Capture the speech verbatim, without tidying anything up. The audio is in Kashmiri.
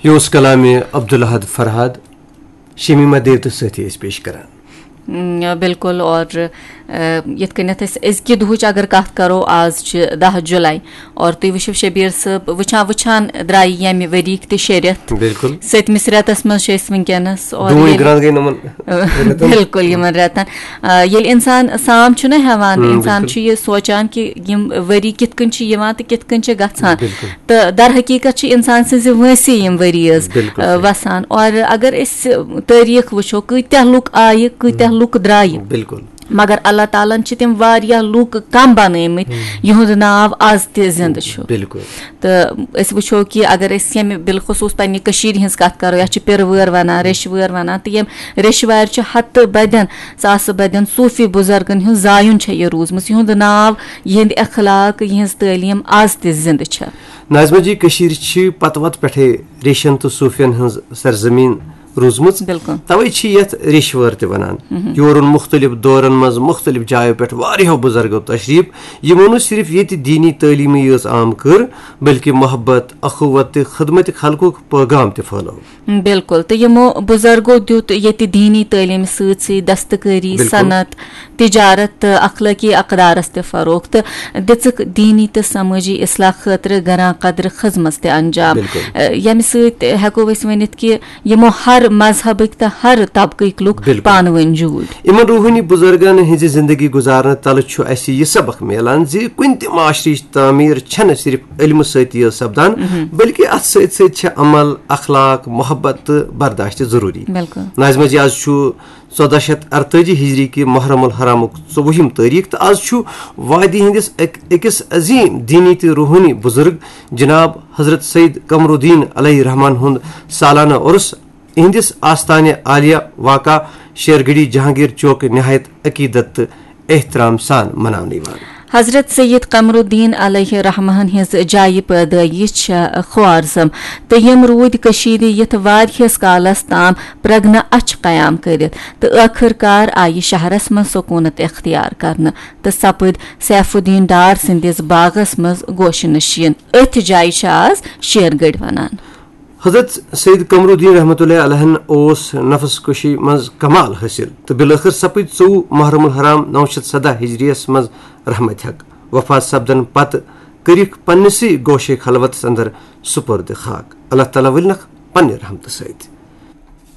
یہِ اوس کلامِ عبدالاحد فرہاد، شمیمہ دیو تہٕ سٲتھی ٲسۍ پیش کران۔ م، بِلکُل، اور، ا، یِتھ کٔنٮ۪تھ أسۍ أزکہِ دُہٕچ اگر کتھ کرو، آز چھِ دَہ جُلاے، اور تُہۍ وٕچھِو شبیر صٲب، وٕچھان وٕچھان درٛایہِ ییٚمہِ ؤریِکۍ تہِ شےٚ رٮ۪تھ۔ بِلکُل۔ سٔتمِس رٮ۪تس منٛز چھِ أسۍ وٕنکیٚنس، اور ڈوٗنۍ ییٚلہِ گرٛنٛد گٔے نۄمن ا، رٮ۪تن۔ بِلکُل، یِمن رٮ۪تن۔ آ، ییٚلہِ اِنسان سام چھُنہ ہٮ۪وان، ہم، اِنسان بِلکُل۔ چھُ یہِ سونٛچان کہِ یِم ؤری کِتھ کٔنۍ چھِ یِوان تہٕ کِتھ کٔنۍ چھِ گژھان۔ بِلکُل۔ تہٕ در حقیٖقت چھِ اِنسان سٕنٛزِ وٲنٛسہِ یِم ؤری حظ، بِلکُل آ، صحیح۔ وَسان۔ اور اگر أسۍ تٲریٖخ وٕچھو، کۭتیٛاہ لُکھ آیہِ، کۭتیٛاہ ہم۔ لُکھ درٛایہِ۔ بِلکُل۔ مگر اللہ تعالیٰ ہن چھِ تِم واریاہ لُکھ کم بنٲومٕتۍ، ہم۔ یِہُنٛد ناو از تہِ زِندٕ چھُ۔ بِلکُل۔ تہٕ أسۍ وٕچھو کہِ اگر أسۍ ییٚمہِ بالخصوٗص پننہِ کٔشیٖرِ ہٕنٛز کَتھ کَرو، یَتھ چھِ پِرٕ وٲر وَنان، ریٚشہِ وٲر وَنان، تہٕ یِم ریٚشہِ وارِ چھِ ہَتہٕ بَدٮ۪ن، ساسہٕ بَدٮ۪ن صوٗفی بُزرگَن ہُنٛد زایُن چھےٚ یہِ روٗزمٕژ، یِہُنٛد ناو، یِہِنٛدۍ اخلاق، یِہٕنٛز تعلیٖم آز تہِ زِندٕ چھےٚ۔ ناظمہ جی، کٔشیٖرِ چھِ پتہٕ وتہٕ پٮ۪ٹھَے ریٚشن تہٕ صوٗفین ہٕنٛز سرزمیٖن روٗزمٕژ۔ بِلکُل۔ توے چھِ یتھ ریٚشہِ وٲر تہِ ونان۔ مہم۔ یور اوٚن مُختٔلِف دورن منٛز مُختٔلِف جایو پٮ۪ٹھ واریاہو بُزرگو تشریٖف۔ یِمو نہٕ صرف ییٚتہِ دیٖنی تعلیٖمٕے یٲژ عام کٔر، بلکہِ محبت، اخوت تہٕ خدمت خلقُک پٲغام تہِ پھٲلٲو۔ بِلکُل، تہٕ یِمو بُزرگو دیُت ییٚتہِ دیٖنی تعلیٖمہِ سۭتۍ سۭتۍ دستکٲری، بِلکُل۔ صنعت، تجارت تہٕ اخلٲقی اقدارس تہِ فروغ تہٕ دِژٕکھ دیٖنی تہٕ سمٲجی اصلاح خٲطرٕ گران قدرٕ خدمژ تہِ انجام۔ بِلکُل۔ ا، ییٚمہِ سۭتۍ ہٮ۪کو أسۍ ؤنِتھ کہِ یِمو ہر مذہبٕکۍ تہٕ ہر طبقٕکۍ لُکھ، بِلکُل۔ پانہٕ ؤنۍ جوٗڑۍ۔ یِمن روحٲنی بُزرگن ہٕنٛزِ زندگی گُزارنہٕ تلہٕ چھُ اَسہِ یہِ سبق میلان زِ کُنہِ تہِ معاشرٕچ تعمیٖر چھنہٕ صرف علمہٕ سۭتی یٲژ سپدان، مہم۔ بلکہِ اتھ سۭتۍ سۭتۍ چھِ عمل، اخلاق، محبت تہٕ برداشت تہِ ضروٗری۔ بِلکُل۔ ناظمہ جی، از چھُ ژۄدہ شیتھ ارتٲجی ہجری کہِ محرم الحرامُک ژوٚوُہِم تٲریٖخ، تہٕ از چھُ وادی ہٕنٛدِس أک-، أکِس عظیٖم دیٖنی تہٕ روحٲنی بُزرگ جناب حضرت سید قمر الدین علیہ الرحمان ہُنٛد سالانہٕ عرس۔ اِہنٛدِس آستانہِ عالیہ واقع شیرگڑھی جہانگیر چوک نہایت عقیدت تہٕ احترام سان مناونہٕ یِوان۔ حضرت سید قمر الدین علیہ الرحمن ہٕنٛز جایہِ پٲدٲیِش چھےٚ خوارزم، تہٕ یِم روٗدۍ کٔشیٖرِ یِتھ واریاہس کالس تام پرگنہٕ اچھ قیام کٔرِتھ، تہٕ ٲخٕر کار آیہِ شہرس منٛز سکوٗنت اختیار کرنہٕ تہٕ سپٕدۍ سیف الدین ڈار سٕنٛدِس باغس منٛز گوشہِ نشیٖن۔ أتھۍ جایہِ چھِ آز شیرگڑھ ونان۔ حضرت سید قمر الدین رحمتہ اللہ علیہن اوس نفس کشی منٛز کمال حٲصِل تہٕ بالٲخٕر سپٕدۍ ژوٚوُہ محرم الحرام نو شیتھ سدہ ہجریس منٛز رحمتِ حق۔ وفات سپدن پتہٕ کٔرِکھ پننِسٕے گوشے خلوتس اندر سپرد خاک۔ اللہ تعالیٰ ؤلنکھ پننہِ رحمتہٕ سۭتۍ۔